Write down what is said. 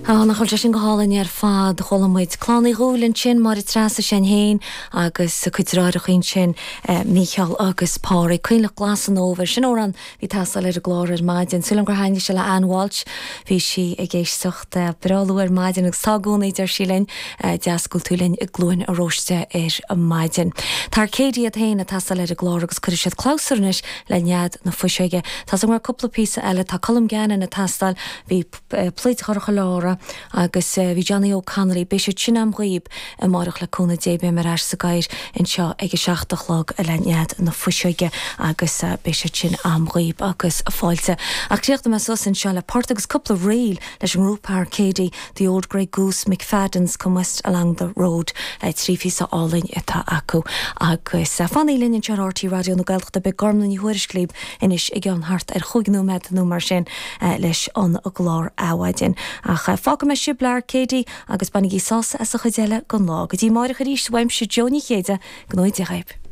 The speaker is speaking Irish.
Á, nach bhfuil sé sin go hálainn ar fad. Chuala muid Clann Uí Dhúill ansin, Máire Treasa Sinn Féin agus a cuid deartháireacha ansin, Mícheál agus Pádraig. Coinleach Glas an Fhómhair. Sin amhrán a bhí ag teastáil ar an gclár ar maidin. Súil agam gur thaitnigh sé le Ann Walsh. Bhí sí ag éisteacht breá luath ar maidin agus tá i gcónaí, deir sí linn. Deas go bhfuil tú linn i gCluain Róiste ar maidin. Tá Arcadia iad féin ag teastáil ar an gclár agus cuirfidh siad clabhsúr anois le Nead na Fuiseoige. Tá's agam go raibh cúpla píosa eile. Tá Colm Gannon ag teastáil. Bhí. Pluid Dhorcha Lára agus bhí Johnny Óg Connolly. Beidh siad sin a'm dhaoib amáireach le cúnamh Dé. Beidh mé ar ais sa gcathaoir anseo ag a 7 a chlog le Nead na Fuiseoige agus beidh siad sin a'm dhaoib agus fáilte. Ach críochnóidh mé suas anseo le port agus cúpla ríl leis an ngrúpa Arcady, The Old Grey Goose, McFadden's Come West Along the Road. 3 phíosa álainn atá acu. Agus fanaigí linn anseo ar RTÉ Raidió na Gaeltachta beidh Gormlaith Ní Thuairisg libh anois i gceann thart ar chúig nóiméad nó mar sin leis an gclár Adhmhaidin. Ach fágfaidh mé sibh le Arcady agus bainigí sásamh as an chuid eile den lá. Go dtí amáireach arís, uaimse Jó Ní Chéide, go ngnóthaí Dia dhaoibh.